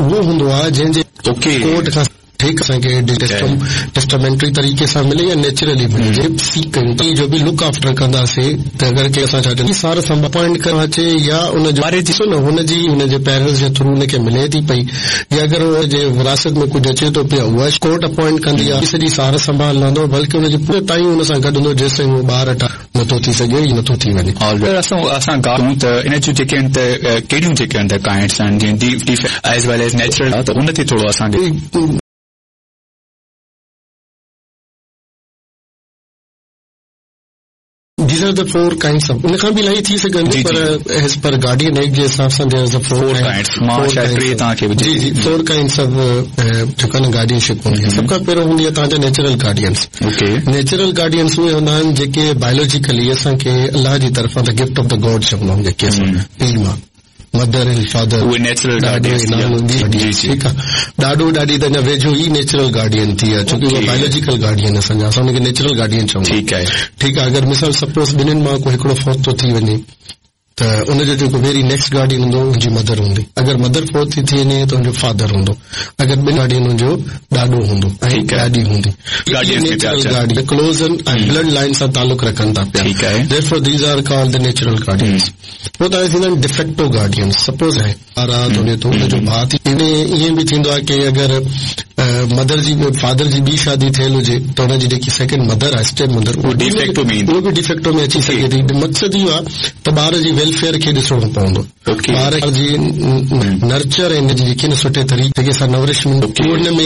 اهو هوندو آهي جنهن جي ڪورٽ کان ٺيڪ اسان کي ٽيسٽامينٽري طريقي سان ملي يا نيچرلي ملي جي سيڪ ڪيون ٿا جو به لڪ آفٽر ڪنداسين ته اگر ڪي اسان ڇا چوندا سار سنڀال اپوائنٽ ڪرڻ اچي يا ان جو ڏسو نه هن جي هن جي پيرنٽس جي ٿرو هن کي ملي ٿي پئي يا اگر هن جي وراثت ۾ ڪجهه اچي ٿو پيو اها ڪورٽ اپوائنٽ ڪندي آهي سڄي سار سنڀال لهندو بلڪه ان جي پوري تائين هن سان گڏ هوندو جيستائين اهو ٻار نٿو ٿي سگهي يا نٿو ٿي وڃي. اگر اسان ڳالهه ڪيون ته ان جون جيڪي آهن ته ڪهڙيون جيڪي آهن ته ڪائنڊس آهن جيئن de as well as natural ته ان تي ٿورو اسان کي. These are the four kinds of ان کان به الاهي ٿي سگهن ٿيون پر ايز پر گارڊين ايڪٽ جي حساب سان there are the four kinds مان شايد ٽي توهان کي جي جي فور ڪائنڊس آف جيڪا نه گارڊين شپ هوندي آهي سڀ کان پهريون هوندي آهي توهان جا نيچرل گارڊينس نيچرل گارڊينس اهي هوندا آهن جيڪي بايولاجيڪلي اسان کي الله جي طرفان the gift of the God چوندا آهيون جيڪي اسان پيء ماء مدر اينڊ فادر اهي نيچرل گارڊينس ٺيڪ آهي ڏاڏو ڏاڏي ته اڃا ويجهو ئي نيچرل گارڊين ٿي ويا ڇو ڪي اهي بايولاجيڪل گارڊين اسان جا اسان ان کي نيچرل گارڊين چوندا ٺيڪ آهي ٺيڪ آهي اگر مثال سپوز ٻنهين مان ڪو هڪڙو فوت ٿو ٿي وڃي ته ان جو جيڪو ويري نيڪسٽ گارڊين هوندو ان جي مدر هوندي اگر مدر فوت ٿي ٿي وڃي ته ان جو فادر هوندو اگر ٻن گارڊين ان جو ڏاڏو هوندو ۽ ڏاڏي هوندي natural guardian close ۽ blood line سان تعلق رکن ٿا پيا therefore these are called the natural guardians پوء توهان ٿيندا آهن ڊيفيڪٽو گارڊينس سپوز آهي ٻار آ ته ٿو ان جو ڀاء ٿي ائين به ٿيندو آهي ڪي اگر مدر جي فادر جي ٻي شادي ٿيل هجي ته ان جي جيڪي سيڪنڊ مدر آهي اسٽيپ مدر اهو ڊيفيڪٽو ۾ اهو به ڊيفيڪٽو ۾ اچي سگهي ٿي مقصد اهو آهي ته ٻار جي ويلفيئر کي ڏسڻو پوندو ٻار جي نرچر ۽ جيڪي سٺي طريقي سان نورشمينٽ ان ۾